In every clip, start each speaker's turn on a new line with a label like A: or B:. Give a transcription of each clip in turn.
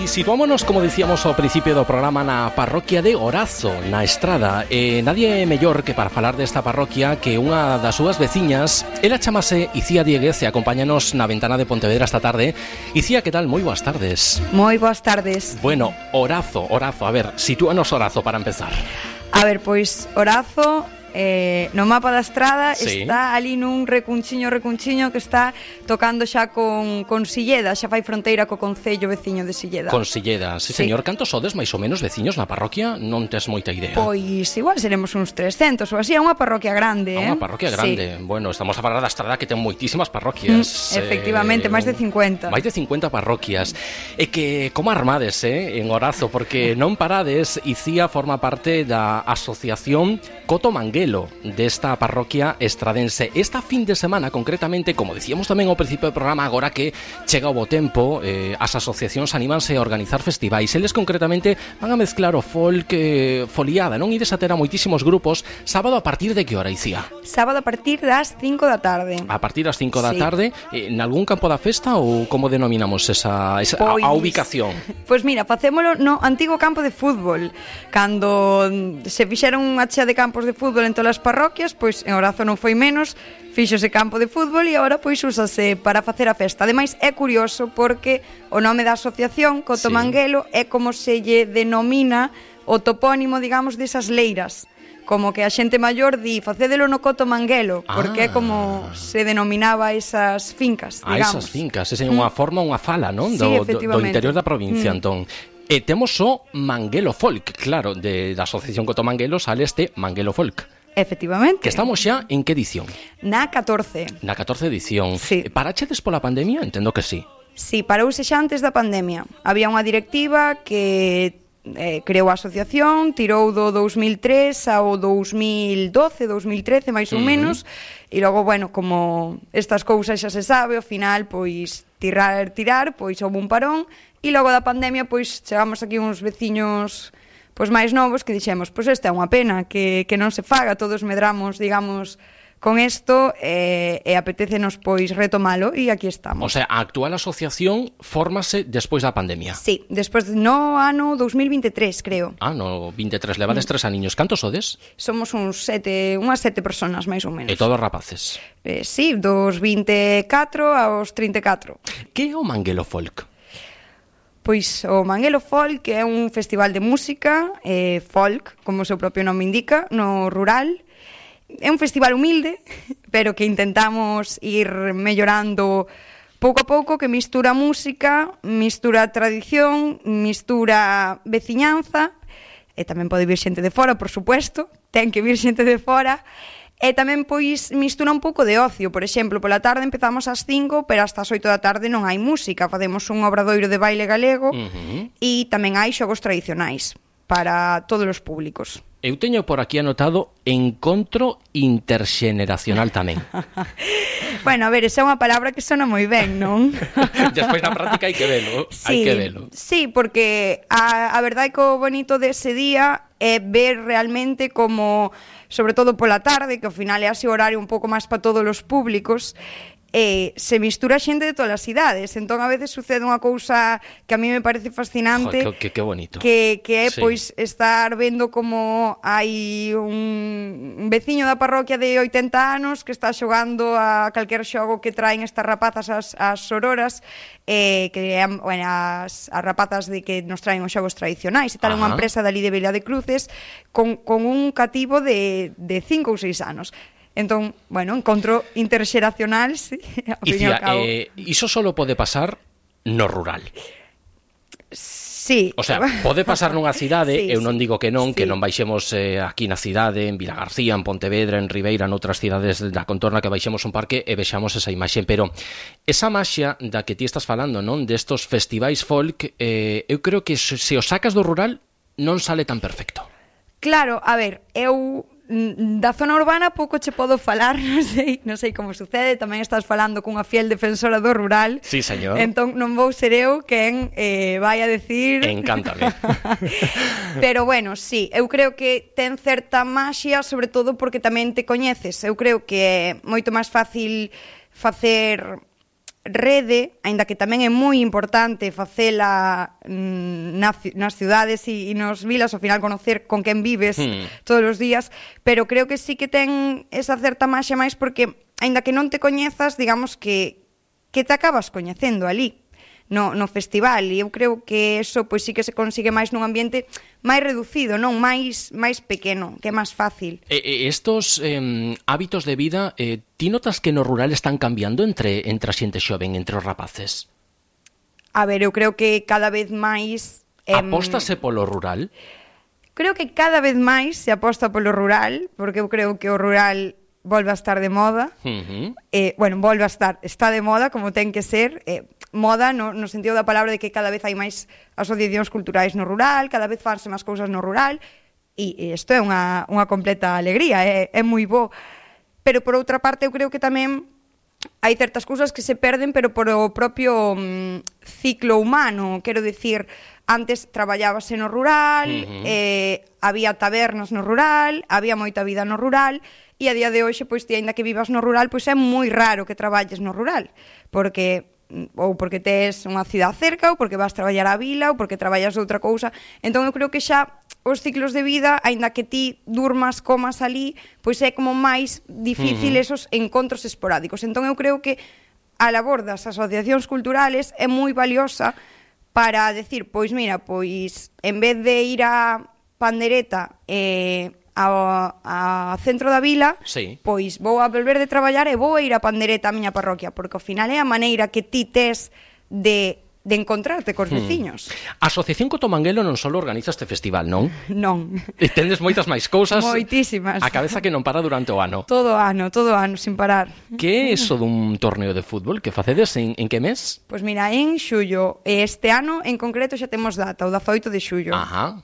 A: E situámonos, como dicíamos ao principio do programa, na parroquia de Orazo, na Estrada. Nadie mellor que para falar desta parroquia que unha das súas veciñas. Ela chamase Icía Dieguez e acompáñanos na ventana de Pontevedra esta tarde. Icía, que tal? Moi boas tardes.
B: Moi boas tardes.
A: Bueno, Orazo, a ver, sitúanos Orazo para empezar.
B: A ver, pois Orazo... no mapa da Estrada,
A: sí,
B: está ali nun recunchiño que está tocando xa con Silleda, xa fai fronteira co concello veciño de Silleda.
A: Con Silleda, sí, señor. Cantos sodes máis ou menos veciños na parroquia? Non tes moita idea.
B: Pois igual seremos uns 300 ou así, é unha parroquia grande,
A: Unha parroquia grande. Sí. Bueno, estamos a falar da Estrada que ten moitísimas parroquias.
B: Efectivamente, máis de 50.
A: Máis de 50 parroquias. E que como armades, en Orazo, porque non parades. Icía forma parte da asociación Coto Manguelo desta parroquia estradense. Esta fin de semana, concretamente, como dicíamos tamén ao principio do programa, agora que chega o bo tempo, as asociacións anímanse a organizar festivais. Eles concretamente van a mezclar o folk, foliada, non? Ides a ter a moitísimos grupos. Sábado a partir de que hora, Icía?
B: Sábado a partir das 5 da tarde.
A: A partir das 5 da tarde, en algún campo da festa ou como denominamos esa a ubicación?
B: Pois mira, facémolo no antigo campo de fútbol. Cando se fixeron unha chea de campos de fútbol en todas as parroquias, pois en Orazo non foi menos, fíxose campo de fútbol e agora pois úsase para facer a festa. Ademais é curioso porque o nome da asociación Coto Manguelo é como se lle denomina o topónimo, digamos, desas leiras. Como que a xente maior di facédelo no Coto Manguelo, porque é como se denominaba esas fincas, digamos.
A: Esas fincas, esa é unha forma, unha fala, non?
B: Sí,
A: do interior da provincia, entón. E temos o Manguelo Folk, claro, da asociación Coto Manguelo sale este Manguelo Folk.
B: Efectivamente.
A: Que estamos xa en que edición?
B: Na 14.
A: Na 14 edición.
B: Sí.
A: Parachedes pola pandemia? Entendo que sí.
B: Sí, parouse xa antes da pandemia. Había unha directiva que creou a asociación, tirou do 2003 ao 2012, 2013, máis ou menos, e logo, bueno, como estas cousas xa se sabe, ao final, pois, tirar, pois houve un parón, e logo da pandemia, pois, chegamos aquí uns veciños pois máis novos que dixemos, pois esta é unha pena que non se faga, todos medramos, digamos, con isto e apetécenos pois retomalo e aquí estamos.
A: O sea, a actual asociación fórmase despois da pandemia.
B: Sí, despois no ano 2023, creo.
A: No 23, levades 3 aniños. Cantos sodes?
B: Somos unhas 7 persoas máis ou menos.
A: E todos rapaces?
B: Sí, dos 24 aos 34.
A: Que é o Manguelo Folk?
B: Pois o Manguelo Folk é un festival de música folk, como o seu propio nome indica, no rural. É un festival humilde, pero que intentamos ir mellorando pouco a pouco, que mistura música, mistura tradición, mistura veciñanza, e tamén pode vir xente de fora, por supuesto, ten que vir xente de fora. E tamén, pois, mistura un pouco de ocio. Por exemplo, pola tarde empezamos ás 5, pero hasta as 8 da tarde non hai música. Facemos un obradoiro de baile galego e tamén hai xogos tradicionais para todos os públicos.
A: Eu teño por aquí anotado encontro interxeneracional tamén.
B: Bueno, a ver, esa é unha palabra que sona moi ben, non?
A: Despois na práctica hai que velo, hai que velo.
B: Sí, porque a verdade é que o bonito dese día é ver realmente como, sobre todo pola tarde, que ao final é así o horario un pouco máis para todos os públicos, se mistura xente de todas as idades. Entón a veces sucede unha cousa que a mí me parece fascinante.
A: Que bonito.
B: Que é, pois, estar vendo como hai un veciño da parroquia de 80 anos que está xogando a calquer xogo que traen estas rapazas as sororas, que bueno, as rapazas de que nos traen os xogos tradicionais e tal. Unha empresa dali de Vila de Cruces con un cativo de 5 ou 6 anos. Entón, bueno, encontro interxeracional, sí, ao fin e ao cabo.
A: Iso solo pode pasar no rural.
B: Sí.
A: O sea, pode pasar nunha cidade,
B: sí,
A: eu non digo que non baixemos aquí na cidade, en Vilagarcía, en Pontevedra, en Ribeira, noutras cidades da contorna, que baixemos un parque e vexamos esa imaxe, pero esa maxia da que ti estás falando, non, destos festivais folk, eu creo que se o sacas do rural non sale tan perfecto.
B: Claro, a ver, eu da zona urbana pouco che podo falar, non sei como sucede, tamén estás falando cunha fiel defensora do rural.
A: Sí, señor.
B: Entón non vou ser eu quen vai a decir...
A: Encántame.
B: Pero bueno, sí, eu creo que ten certa maxia, sobre todo porque tamén te coñeces. Eu creo que é moito máis fácil facer rede, aínda que tamén é moi importante facela nas cidades e nos vilas, ao final conocer con quen vives todos os días, pero creo que sí que ten esa certa maxia máis porque, aínda que non te coñezas, digamos que te acabas coñecendo ali no festival, e eu creo que eso pois sí que se consigue máis nun ambiente máis reducido, non máis pequeno, que é máis fácil.
A: Estos hábitos de vida, ti notas que no rural están cambiando entre a xente xoven, entre os rapaces?
B: A ver, eu creo que cada vez máis...
A: Apóstase polo rural?
B: Creo que cada vez máis se aposta polo rural, porque eu creo que o rural volve a estar de moda. Bueno, volve a estar, está de moda, como ten que ser, moda no sentido da palabra de que cada vez hai máis asociacións culturais no rural, cada vez fanse máis cousas no rural, e isto é unha completa alegría, é moi bo. Pero por outra parte eu creo que tamén hai certas cousas que se perden, pero por o propio ciclo humano, quero dicir, antes traballábase no rural, había tabernas no rural, había moita vida no rural, e a día de hoxe, pois, ti, aínda que vivas no rural, pois é moi raro que traballes no rural, porque tes unha cidade cerca, ou porque vas traballar á vila, ou porque traballas outra cousa. Entón eu creo que xa os ciclos de vida, aínda que ti durmas, comas ali, pois é como máis difícil esos encontros esporádicos. Entón eu creo que a labor das asociacións culturales é moi valiosa para decir, pois mira, pois en vez de ir a Pandereta ao centro da vila, pois vou a volver de traballar e vou a ir a Pandereta á miña parroquia, porque ao final é a maneira que ti tes de encontrarte cos veciños.
A: A Asociación Cotomanguelo non só organiza este festival, non?
B: Non.
A: E tendes moitas máis cousas.
B: Moitísimas.
A: A cabeza que non para durante o ano.
B: Todo ano, sin parar.
A: Que é iso dun torneo de fútbol que facedes en que mes?
B: Pois mira, en xullo. Este ano, en concreto, xa temos data, o 18 de xullo.
A: Ajá.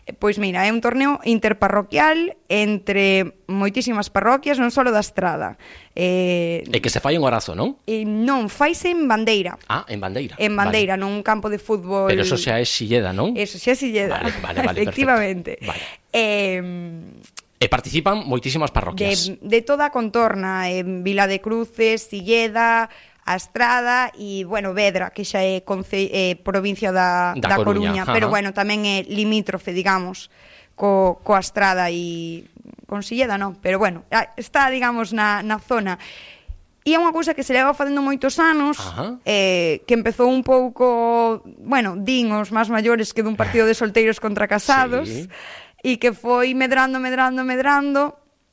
B: Pois mira, é un torneo interparroquial entre moitísimas parroquias, non só da Estrada.
A: E que se fai en Orazo, non?
B: Non, faise en Bandeira.
A: Ah, en Bandeira.
B: En Bandeira, vale. Nun campo de fútbol...
A: Pero eso xa é Silleda, non?
B: Eso xa é Silleda,
A: vale,
B: efectivamente.
A: Vale. E participan moitísimas parroquias.
B: De toda a contorna, en Vila de Cruces, Silleda... a Estrada e, bueno, Vedra, que xa é provincia da Coruña, pero, bueno, tamén é limítrofe, digamos, coa Estrada e con Silleda, non, pero, bueno, está, digamos, na zona. E é unha cousa que se leva facendo moitos anos, que empezou un pouco, bueno, din os máis maiores que dun partido de solteiros contra casados, e que foi medrando,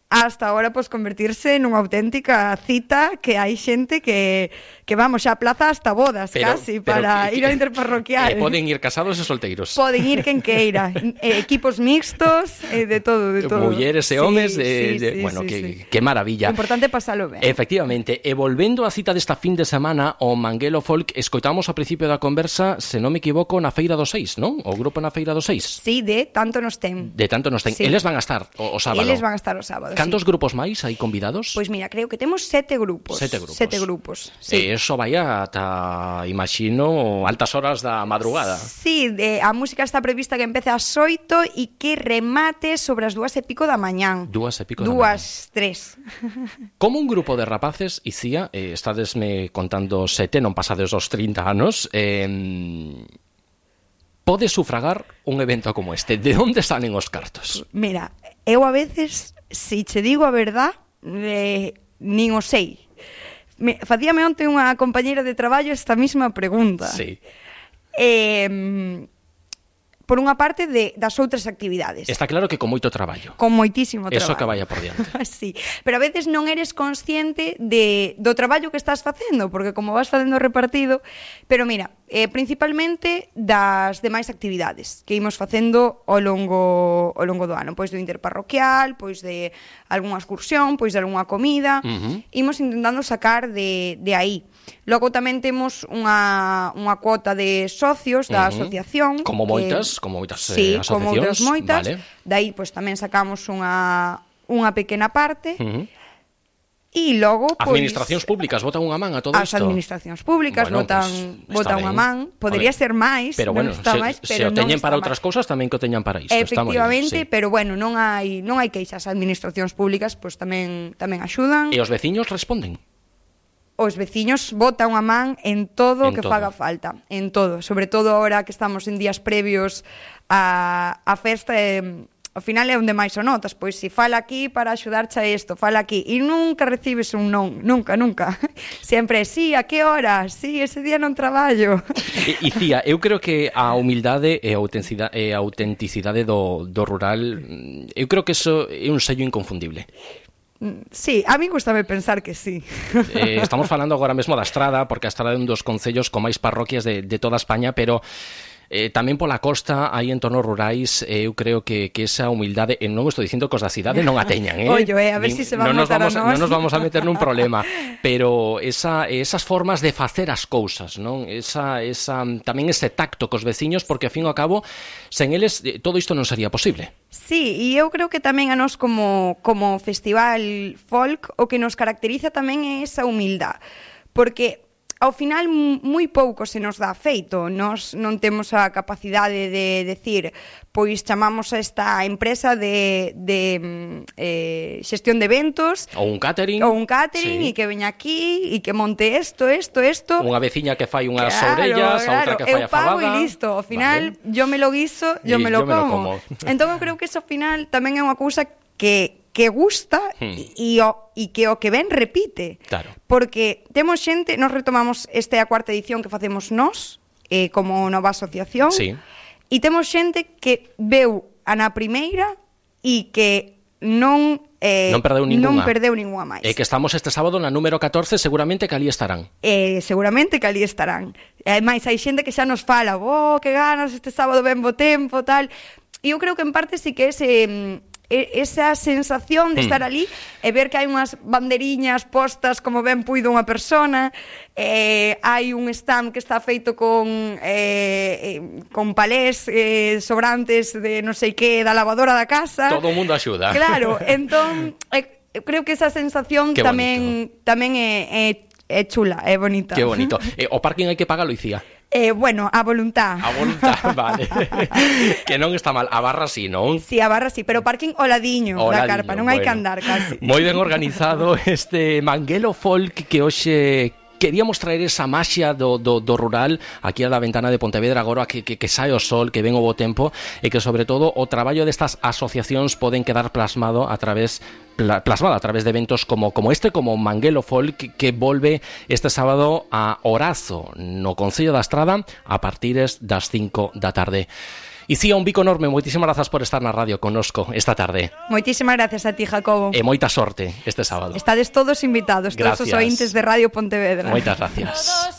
B: hasta agora, pois, convertirse nunha auténtica cita que hai xente que vamos, xa aplaza hasta bodas, casi, para ir ao interparroquial.
A: Poden ir casados e solteiros.
B: Poden ir quen queira. Equipos mixtos, de todo.
A: Mulleres e homes, bueno, que maravilla.
B: O importante é pasalo ben.
A: Efectivamente. E volvendo á cita desta fin de semana, o Manguelo Folk, escoitamos ao principio da conversa, se non me equivoco, na Feira do 6, non? O grupo na Feira do 6.
B: Sí, de tanto nos ten.
A: Sí. Eles van a estar o sábado.
B: Eles van a estar o sábado.
A: Cantos grupos máis hai convidados?
B: Pois mira, creo que temos 7 grupos.
A: 7 grupos.
B: 7 grupos, sí.
A: E eso vai ata, imagino, altas horas da madrugada.
B: Sí, a música está prevista que empece ás 8 e que remate sobre as 2:30 da mañán.
A: 2:30 da mañán.
B: 2:03.
A: Como un grupo de rapaces, Icía, estadesme contando 7, non pasades os 30 anos, pode sufragar un evento como este? De onde salen os cartos?
B: Mira, eu a veces, se che digo a verdad, nin o sei. Facíame onte unha compañeira de traballo esta mesma pregunta.
A: Sí.
B: Por unha parte das outras actividades.
A: Está claro que con moito traballo.
B: Con moitísimo traballo.
A: Eso que vaya por diante.
B: Sí, pero a veces non eres consciente do traballo que estás facendo, porque como vas facendo repartido, pero mira, principalmente das demais actividades que imos facendo ao longo do ano, pois do interparroquial, pois de algunha excursión, pois de algunha comida, imos intentando sacar de aí. Logo tamén temos unha cuota de socios da asociación.
A: Como moitas
B: sí,
A: asociacións.
B: Como outras moitas.
A: Vale.
B: Dai, pois tamén sacamos unha pequena parte. E logo, pois...
A: Administracións públicas botan unha man a todo isto?
B: As administracións públicas botan unha man. Podería ser máis,
A: pero bueno, se o teñen para outras cousas, tamén que o teñan para isto.
B: Efectivamente, pero bueno, non hai queixas. As administracións públicas pois tamén axudan.
A: E os veciños responden?
B: os veciños botan a man en todo o que faga falta, en todo, sobre todo agora que estamos en días previos a festa, ao final é onde máis o notas, pois se fala aquí para axudarche a isto, fala aquí, e nunca recibes un non, nunca, sempre, sí, a que hora, sí, ese día non traballo.
A: E Cía, eu creo que a humildade e a autenticidade do rural, eu creo que eso é un sello inconfundible.
B: Sí, a mí gustame pensar que sí.
A: Estamos falando agora mesmo da Estrada, porque a Estrada é un dos concellos con máis parroquias de toda España, pero tamén pola costa, aí en entornos rurais, eu creo que esa humildade, e non estou dicindo que os da cidade non a teñan,
B: Ollo, a ver se se van a matar a nós.
A: Non nos vamos a meter nun problema, pero esas formas de facer as cousas, non? Tamén ese tacto cos veciños, porque, ao fin e ao cabo, sen eles, todo isto non sería posible.
B: Sí, e eu creo que tamén a nós como festival folk o que nos caracteriza tamén é esa humildade, porque ao final moi pouco se nos dá feito, nós non temos a capacidade de decir, pois chamamos a esta empresa de xestión de eventos
A: ou un catering
B: sí. E que veña aquí e que monte isto unha
A: veciña que fai unhas orellas, a outra que fai a fabada,
B: eu pago e listo, ao final yo me lo guiso, yo me lo como. Entón eu creo que iso ao final tamén é unha cousa que gusta e que o que ven repite.
A: Claro.
B: Porque temos xente, nos retomamos a cuarta edición que facemos nós, como nova asociación,
A: sí.
B: E temos xente que veu a na primeira e que non
A: perdeu
B: ningunha máis.
A: E que estamos este sábado na número 14, seguramente que ali estarán.
B: Seguramente que ali estarán. Ademais, hai xente que xa nos fala, que ganas, este sábado ben bo tempo, tal. E eu creo que en parte sí que esa sensación de estar ali e ver que hai unhas banderiñas postas como ben puido unha persona, hai un stand que está feito con palés sobrantes de non sei que da lavadora da casa.
A: Todo o mundo axuda.
B: Claro, entón eu creo que esa sensación tamén é chula, é bonita.
A: Que bonito. O parking hai que pagalo, Icía.
B: Bueno, a voluntad.
A: A voluntad, vale. Que non está mal. A barra sí, non?
B: Sí, a barra sí, pero parking ao ladiño da carpa, non hai que andar casi.
A: Moi ben organizado este Manguelo Folk que hoxe queríamos traer esa maxia do rural aquí a da ventana de Pontevedra agora que sae o sol, que ven o bo tempo e que sobre todo o traballo destas asociacións poden quedar plasmado a través de eventos como este, como Manguelo Folk, que volve este sábado a Orazo, no Concello da Estrada, a partir das 5 da tarde. Icía, un bico enorme, moitísimas grazas por estar na radio connosco esta tarde.
B: Moitísimas gracias a ti, Jacobo.
A: E moita sorte este sábado.
B: Estades todos invitados, todos os ointes de Radio Pontevedra.
A: Moitas gracias.